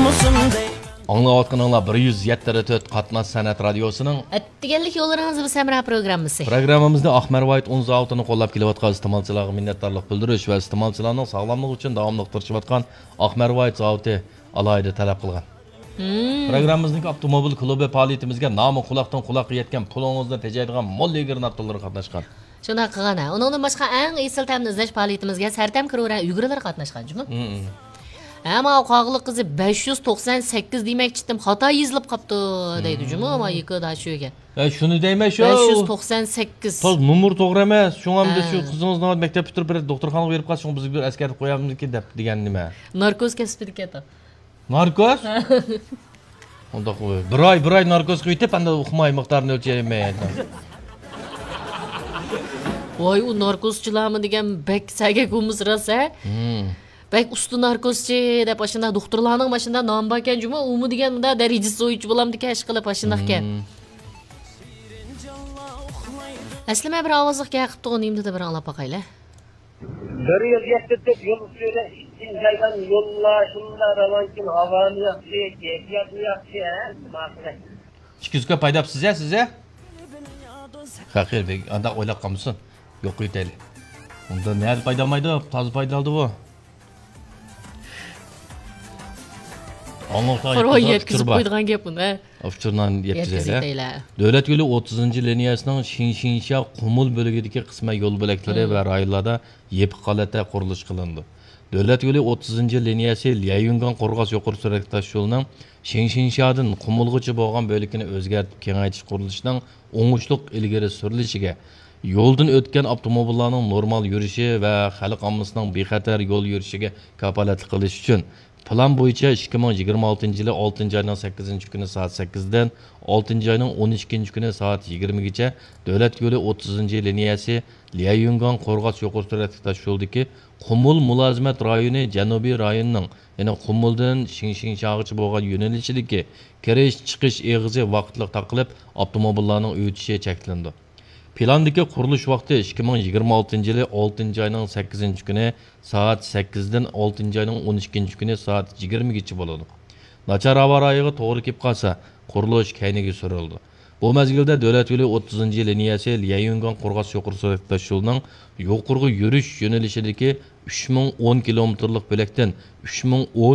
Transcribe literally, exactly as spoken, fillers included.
ئاڭلاۋاتقىنىڭلار بىر يۈز يەتتە تۆت قاتناش سەنئەت رادىيوسىنىڭ ئەتىگەنلىك يوللىرىڭىز بىز ھەمراھ پروگراممىسى. پروگراممىمىزنى ئاقمەر ۋايت ئۇن زاۋۇتىنى قوللاپ كېلىۋاتقان ئىستېمالچىلارغا مىننەتدارلىق بىلدۈرۈش ۋە ئىستېمالچىلارنىڭ ساغلاملىقى ئۈچۈن داۋاملىق تىرىشىۋاتقان ئاقمەر ۋايت زاۋۇتى ئالاھىدە تەلەپ قىلغان. مم. پروگراممىمىزنىڭ ئاپتوموبىل كۇلۇبى پائالىيىتىمىزگە نامى قۇلاقتىن قۇلاققا يەتكەن، پۇلىڭىزنى تېجەيدىغان مول ئىگىرىنى ئاپتوللىرى قاتناشقان. شۇنداق قىلغان ھە. ئۇنىڭدىن باشقا ئەڭ ئېسىل تەمنى ئىزدەش پائالىيىتىمىزگە سەرتەم كرورە ئۈگرىلىرى قاتناشقان جۇمۇ. مم. ھە، ماۋۇ قاغىلىق قىزى بەش يۈز توقسان سەككىز دېمەكچىدىم، خاتا يېزىلىپ قاپتۇ دەيدۇ جۇمۇ، مم. ماۋۇ يېكىدا شۇگە. ھە، شۇنى دەيمەن شۇ. بەش يۈز توقسان سەككىز. تاز نومۇر توغرا ئەمەس. شۇڭا ئەمدى ھە. شۇ قىزىڭىزنى مەكتەپ پۈتتۈرۈپ بىر دوختۇرخانىغا بېرىپ قالسا، شۇڭا بىزگە بىر ئەسكەرتىپ قويامىزكىن دەپ دېگەننى مەن. ناركوز كەسپىدىكى ئاتا. ناركوز؟ ئۇنداق بىر ئاي، بىر ئاي ناركوز قىلىۋېتىپ، ئەمدى ئۇقماي مىقدارىنى ئۆلچەيمەن. ۋاي، ئۇ ناركوزچىلارمۇ دېگەن بەك سەگەك ئۇمۇس راست ھە؟ مم. بەك ئۇستا ناركوزچى دەپ ئاشۇنداق دوختۇرلارنىڭ ماشۇنداق نامى باركەن جۇمۇ، ئۇمۇ دېگەن مۇنداق دەرىجىسى بويىچە بولامدىكەن، ئىشقىلىپ ئاشۇنداقكەن. مم. ئەسلىمە بىر ئاۋازلىق گەپ قىپتىغۇ، نېمە دېدى بىر ئاڭلاپ باقايلى. بىر يۈز يەتتە تۆت يول ئۈستىدە ئىككىنچى ئايدىن يوللار شۇنداق راۋانكىن، ھاۋامۇ ياخشى، كەيپىياتمۇ ياخشى، ھە، ماقۇل. ئىككى يۈز كۆپ ھەيدەپسىز يا سىز يا؟ خەقىر بەگ ئانداق ئويلاپ قالمىسۇن. يوق قويۇۋېتەيلى. ئۇندا نەدە پايدالمايدۇ؟ تازا پايدالىدى بۇ. ئاڭلىغۇچىلار قورغان يەتكۈزۈپ قويىدىغان گەپ بۇنى، ھە؟ ئۇچۇرنى يەتكۈزەيلى. يەتكۈزەيلى. دۆلەت يولى ئوتتۇزىنچى لىنىيەسىنىڭ شىڭشىڭشيا قۇمۇل بۆلىكىدىكى قىسمەن يول بۆلەكلىرى ۋە رايونلاردا يېپىق ھالەتتە قۇرۇلۇش قىلىنىدۇ. دۆلەت يولى ئوتتۇزىنچى لىنىيەسى ليەيۈنگاڭ قورغاس يۇقىرى سۈرئەتلىك تاشيولىنىڭ شىڭشىڭشيادىن قۇمۇلغىچە بولغان بۆلىكىنى ئۆزگەرتىپ كېڭەيتىش قۇرۇلۇشىنىڭ ئوڭۇشلۇق ئىلگىرى سۈرۈلۈشىگە، يولدىن ئۆتكەن ئاپتوموبىللارنىڭ نورمال يۈرۈشى ۋە خەلق ئاممىسىنىڭ بىخەتەر يول يۈرۈشىگە كاپالەتلىك قىلىش ئۈچۈن، پىلان بويىچە ئىككى مىڭ يىگىرمە ئالتىنچى يىلى ئالتىنچى ئاينىڭ سەككىزىنچى كۈنى سائەت سەككىزدىن ئالتىنچى ئاينىڭ ئون ئىككىنچى كۈنى سائەت يىگىرمىگىچە دۆلەت يولى ئوتتۇزىنچى لىنىيەسى ليەيۈنگاڭ قورغاس يۇقىرى سۈرئەتلىك تاشيولدىكى قۇمۇل مۇلازىمەت رايونى جەنۇبىي رايونىنىڭ، يەنى قۇمۇلدىن شىڭشىڭشياغىچە بولغان يۆنىلىشىدىكى كىرىش، چىقىش ئېغىزى ۋاقىتلىق تاقىلىپ، ئاپتوموبىللارنىڭ ئۆتۈشى چەكلىنىدۇ. پىلاندىكى قۇرۇلۇش ۋاقتى ئىككى مىڭ يىگىرمە ئالتىنچى يىلى ئالتىنچى ئاينىڭ سەككىزىنچى كۈنى سائەت سەككىزدىن ئالتىنچى ئاينىڭ ئون ئىككىنچى كۈنى سائەت يىگىرمىگىچە بولىدۇ. ناچار ھاۋا رايىغا توغرا كېلىپ قالسا، قۇرۇلۇش كەينىگە سۈرۈلىدۇ. بۇ مەزگىلدە دۆلەت يولى ئوتتۇزىنچى لىنىيەسى ليەيۈنگاڭ قورغاس يۇقىرى سۈرئەتلىك تاشيولىنىڭ يۇقىرىغا يۈرۈش يۆنىلىشىدىكى ئۈچ مىڭ ئون كىلومېتىرلىق بۆلەكتىن ئۈچ مىڭ ئون